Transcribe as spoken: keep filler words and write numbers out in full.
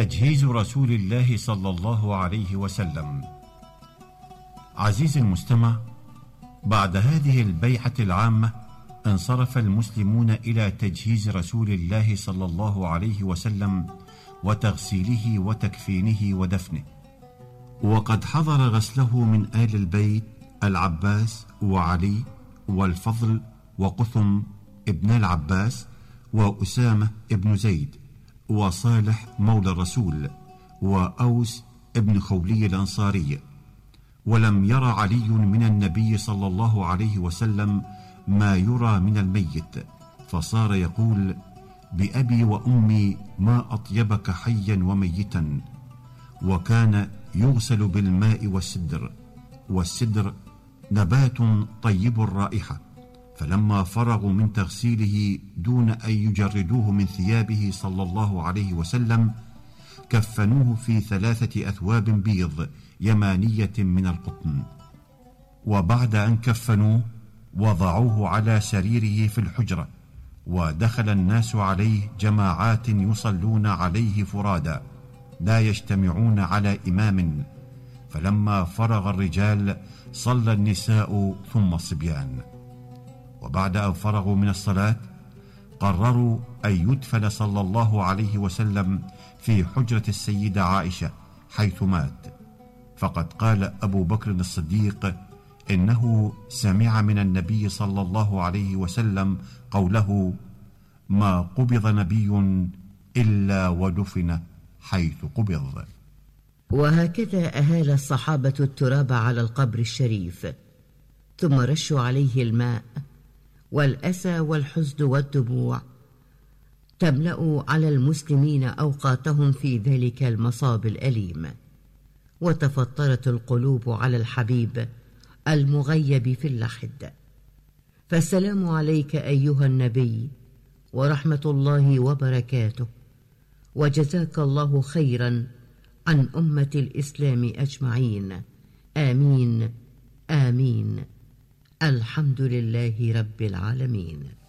تجهيز رسول الله صلى الله عليه وسلم. عزيزي المستمع، بعد هذه البيعة العامة انصرف المسلمون إلى تجهيز رسول الله صلى الله عليه وسلم وتغسيله وتكفينه ودفنه، وقد حضر غسله من آل البيت العباس وعلي والفضل وقثم ابن العباس وأسامة ابن زيد وصالح مولى الرسول وأوس ابن خولي الأنصاري. ولم ير علي من النبي صلى الله عليه وسلم ما يرى من الميت، فصار يقول: بأبي وأمي ما أطيبك حيا وميتا. وكان يغسل بالماء والسدر، والسدر نبات طيب الرائحة، فلما فرغوا من تغسيله دون أن يجردوه من ثيابه صلى الله عليه وسلم كفنوه في ثلاثة أثواب بيض يمانية من القطن. وبعد أن كفنوه وضعوه على سريره في الحجرة، ودخل الناس عليه جماعات يصلون عليه فرادا لا يجتمعون على إمام، فلما فرغ الرجال صلى النساء ثم الصبيان. وبعد أن فرغوا من الصلاة قرروا أن يدفن صلى الله عليه وسلم في حجرة السيدة عائشة حيث مات، فقد قال أبو بكر الصديق إنه سمع من النبي صلى الله عليه وسلم قوله: ما قبض نبي إلا ودفن حيث قبض. وهكذا أهال الصحابة التراب على القبر الشريف، ثم رشوا عليه الماء، والأسى والحزن والدموع تملأ على المسلمين أوقاتهم في ذلك المصاب الأليم، وتفطرت القلوب على الحبيب المغيب في اللحد. فالسلام عليك أيها النبي ورحمة الله وبركاته، وجزاك الله خيرا عن أمة الإسلام أجمعين. آمين آمين. الحمد لله رب العالمين.